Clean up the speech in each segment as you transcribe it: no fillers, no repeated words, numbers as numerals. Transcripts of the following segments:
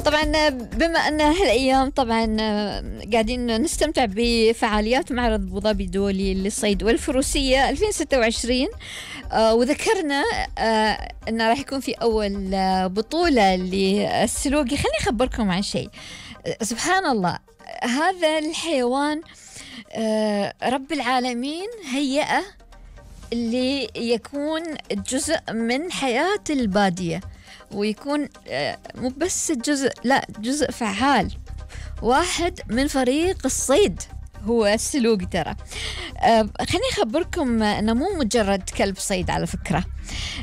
طبعا بما أن هالأيام طبعا قاعدين نستمتع بفعاليات معرض أبو ظبي الدولي للصيد والفروسية 2026. وذكرنا أن راح يكون في أول بطولة للسلوقي. خليني أخبركم عن شيء. سبحان الله، هذا الحيوان رب العالمين هيئة اللي يكون جزء من حياة البادية، ويكون مو بس جزء، لا جزء فعال، واحد من فريق الصيد هو السلوقي. ترى خليني أخبركم أنه مو مجرد كلب صيد على فكرة.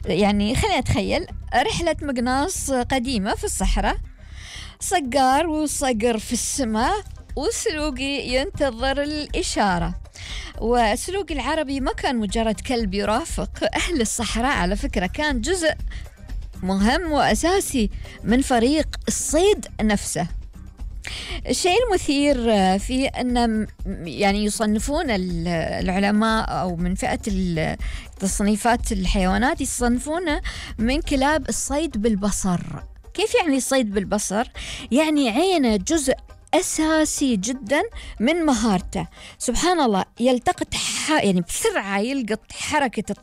يعني خليني أتخيل رحلة مقناص قديمة في الصحراء، صقار وصقر في السماء، والسلوقي ينتظر الإشارة. والسلوقي العربي ما كان مجرد كلب يرافق أهل الصحراء، على فكرة كان جزء مهم وأساسي من فريق الصيد نفسه. الشيء المثير في أن يعني يصنفون العلماء أو من فئة تصنيفات الحيوانات يصنفونه من كلاب الصيد بالبصر. كيف يعني الصيد بالبصر؟ يعني عينه جزء أساسي جدا من مهارته. سبحان الله، يلتقط يعني بسرعة يلقط حركة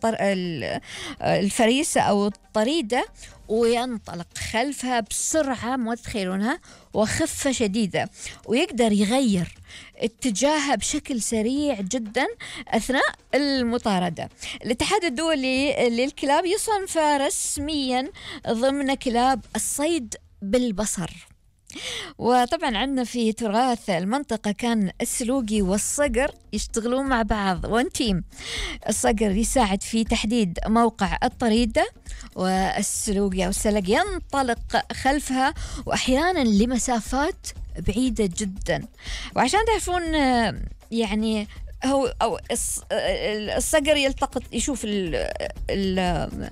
الفريسة أو الطريدة وينطلق خلفها بسرعة، ما تتخيلونها، وخفة شديدة، ويقدر يغير اتجاهها بشكل سريع جدا أثناء المطاردة. الاتحاد الدولي للكلاب يصنفه رسميا ضمن كلاب الصيد بالبصر. وطبعا عندنا في تراث المنطقة كان السلوقي والصقر يشتغلون مع بعض وان تيم. الصقر يساعد في تحديد موقع الطريدة، والسلوقي أو السلق ينطلق خلفها، وأحيانا لمسافات بعيدة جدا. وعشان تعرفون يعني هو أو الصقر يلتقط يشوف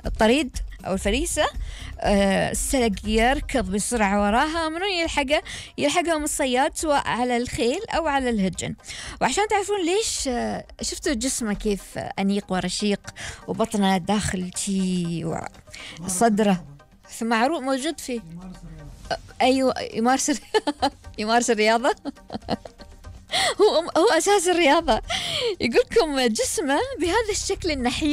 الطريد أو الفريسة، السلق يركض بسرعة وراها، منو يلحقهم الصياد سواء على الخيل أو على الهجن. وعشان تعرفون ليش، شفتوا جسمه كيف أنيق ورشيق، وبطنه داخل شي وصدره معروف موجود فيه. أيوة، يمارس الرياضة. هو أساس الرياضة. يقولكم جسمه بهذا الشكل النحيف